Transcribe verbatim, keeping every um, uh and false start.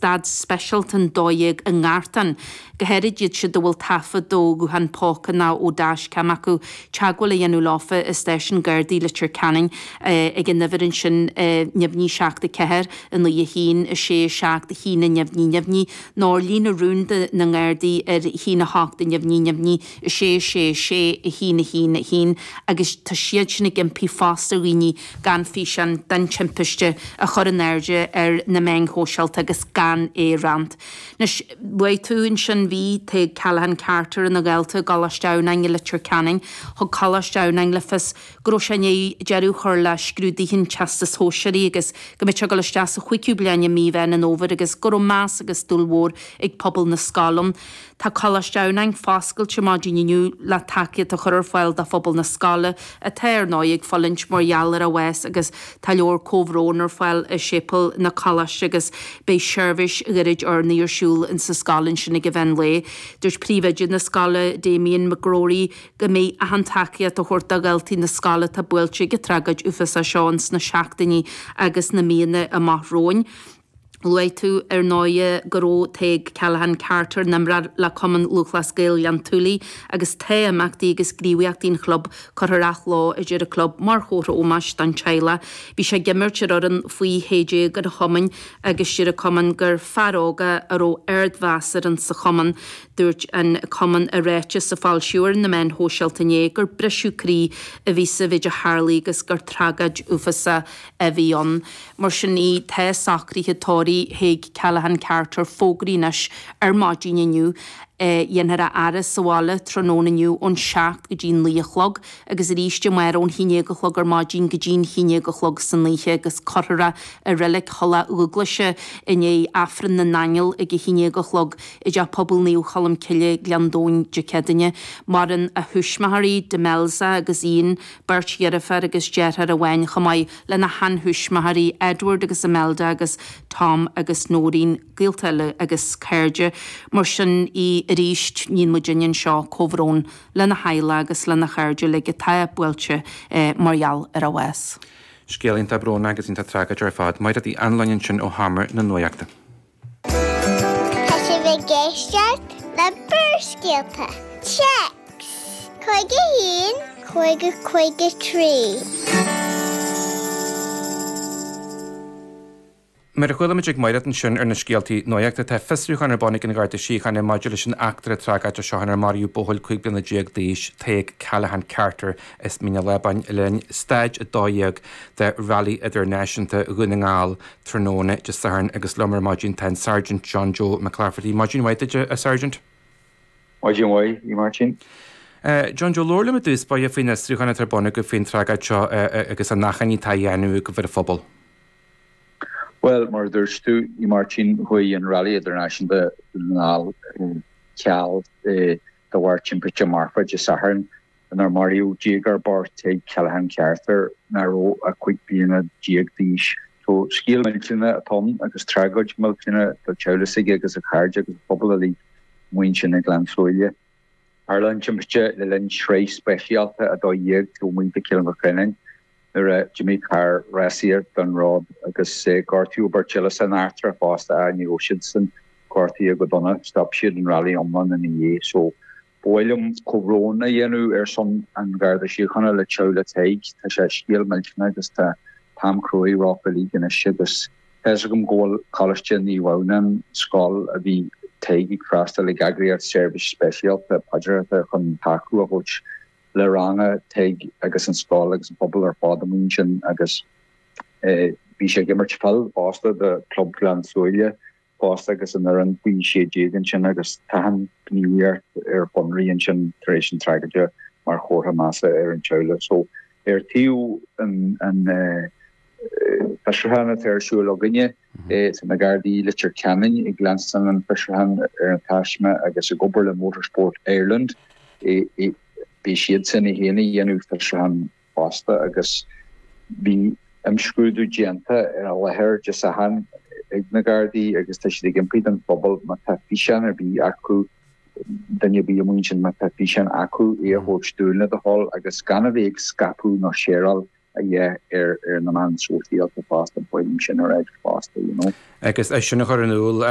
stad speisialta an dó dhéag i nGartán. Go háirid iad siúd a bhfuil taifead ó ghuthán póca nó ó dashcam acu, teagmháil a dhéanamh leofa i Stáisiún Gardaí Leitir Ceanainn ag an uimhir ansin neamhní seacht a ceathair, a naoi a haon, a sé a seacht, a haon a neamhní neamhní, nó ar líne rúnda na nGardaí ar a haon a hocht a neamhní neamhní, a sé a sé a sé, a haon a haon a haon agus tá siad sin ag impí fosta ar dhaoine gan físeán den timpiste a chur in airde ar na meáin shóisialta agus gan é a roinnt. Anois, luaigh tú ansin, bhí Tadhg Callaghan Carter ina dhalta i gColáiste Adhamhnáin i Leitir Ceanainn. Thug Coláiste Adhamhnáin le fios go raibh sé i ndiaidh deireadh a chur le scrúduithe an Teastais Shóisearaigh agus go mbeadh sé ag dul isteach sa chúigiú bliain i mí Mheán an Fhómhair agus go raibh meas agus dúil mhór ag pobal na scoile ann. Tá Coláiste Adhamhnáin foscailte maidin inniu le tacaíocht a chur ar fáil do phobal na scoile, atá ar ndóigh ag fulaingt mar gheall ar a bhás agus tá leabhar comhbhróin ar fáil i séipéal na coláiste agus beidh seirbhís ghairid urnaí ar siúl insa scoil ansin ag an mheán lae. Dúirt príomhoide na scoile, Damien McGrory, go mbeidh achan tacaíocht á thabhairt do dhaltaí na scoile atá buailte ag an tragóid uafásach seo ins na seachtainí agus na míonna amach romhainn. Luaigh tú, ar ndóigh, go raibh Tadhg Callaghan Carter ina imreoir le Cumann Lúthchleas Gael Ghleann tSúilí agus tá imeachtaí agus gníomhaíochtaí an chlub curtha ar athló, a deir an club, mar chomhartha ómóis don teaghlach. Bhí sé ag imirt ar fhoireann faoi shé déag an chumainn agus deir an cumann gur fear óg é a raibh ardmheas air insa chumann. Dúirt an cumann i ráiteas a foilsíodh ar na meáin shóisialta inné gur briseadh croí a bhí sa mhéid a tharlaigh agus gur tragóid uafásach a bhí ann. Mar sin í, tá socruithe tórraimh Thaidhg Callaghan Carter fógraithe anois ar maidin inniu. Dhéanfar a fhaire sa bhaile tráthnóna inniu ón seacht go dtí naoi a chlog agus arís amárach ón haon déag a chlog ar maidin go dtí an haon déag a chlog san oíche agus cuirfear é i Reilig Thulach Dhúglaise i ndiaidh Aifreann na nAingeal ag a haon déag a chlog i dTeach Pobail Naomh Cholm Cille, Gleann Domhain, Dé Céadaoine. Maireann a thuismitheoirí, Demelza agus Ian, beirt dheirféar agus deartháir amháin chomh maith lena sheantuismitheoirí Edward agus Imelda agus Tom agus Nóirín, gaolta eile agus cairde. Mar sin í arís, níonn muidinne anseo comhbhrón lena theaghlach agus lena chairde uilig atá buailte mar gheall ar a bhás. Scéal iontach brónach agus iontach tragóideach ar fad. Mairéad Uí Anluain ansin ó Sheomra na Nuachta. Tá sibh ag éisteacht le Barrscéalta. Téacs cúig a haon, cúig a cúig a trí. Mar a chuala muid ag Mairéad ansin ar na scéaltaí nuachta, tá fiosrúchán ar bun ag an Gharda Síochána maidir leis an eachtra tragóideach seo inar maraíodh buachaill cúig bliana déag d'aois, Tadhg Callaghan Carter as Mín an Lábáin le linn Staid a dó dhéag de Rally Idirnáisiúnta Dhún na nGall tráthnóna Dé Sathairn agus liom ar maidin tá an Sergeant John Joe McClafferty. Maidin mhaith duit, a Sergeant. Maidin mhaith, a Mháirtín. John Joe, labhair liom i dtús báire faoin fhiosrúchán atá ar bun agaibh faoin tragóid seo agus an achainí atá á dhéanamh agaibh ar an phobal. Bhuel, mar a dúirt tú, a Mháirtín, chuaigh an Rally Idirnáisiúnta Dhún na nGall ar ceal de bharr timpiste marfach Dé Sathairn inar maraíodh déagóir bocht Tadhg Callaghan Carter nach raibh ach cúig bliana déag d'aois. So, scéal millteanach atá ann agus tragóid mhillteanach do theaghlach s'aige agus a chairde agus an pobal uilig amuigh ansin i nGleann tSúilí. Tharla an timpiste le linn sraith speisialta a dó dhéag taobh amuigh de Chill an Chreanáin. nuair a d'imigh carr rásaíochta den ród agus gortaíodh beirt eile san eachtra fosta ach ní raibh siadsan gortaithe go dona, stop siad an rally iomlán ina dhiaidh. So, ba mhaith liom comhbhrón a dhéanamh ar son an Gharda Síochána le teaghlach Tadhg. Tá sé scéal millteanach agus tá t-am cruaidh rompu uilig anois agus tá fhios agam go bhfuil Coláiste Naomh Adhamhnáin, scoil a bhí Tadhg ag freastal ag eagraíocht seirbhís speisialta paidreacha chun tacú a thabhairt le ranga Tadhg agus an scoil agus an pobal ar fad amuigh ansin agus bhí sé ag imirt peil fosta do Club Ghleann tSúilí fosta agus an fhoireann faoi sé déag ansin agus tá an ghníomhaíocht ar fionraí ansin tar éis an tragóide mar chomhartha measa ar an teaghlach. So ar taobh an an fiosrúchán atá ar siúl againne, tá na Gardaí Leitir Ceanainn ag leanstan an fiosrúchán ar an taisme agus ag obair le Motorsport Ireland. Bhí siadsan i féin ag déanamh fiosrúchán fosta agus bhí imscrúdú déanta ar an láthair Dé Sathairn ag na Gardaí agus tá siad ag impí don phobal má tá físeán ar bith acu, duine ar bith amuigh ansin má tá físeán acu, é a thabhairt dúinn le do thoil agus gan a bheith ag scaipeadh nó shareáil a dhath ar ar na meáin sóisialta fosta, ba mhaith liom sin a ráit fosta, you know. Agus é sin a chur in iúl.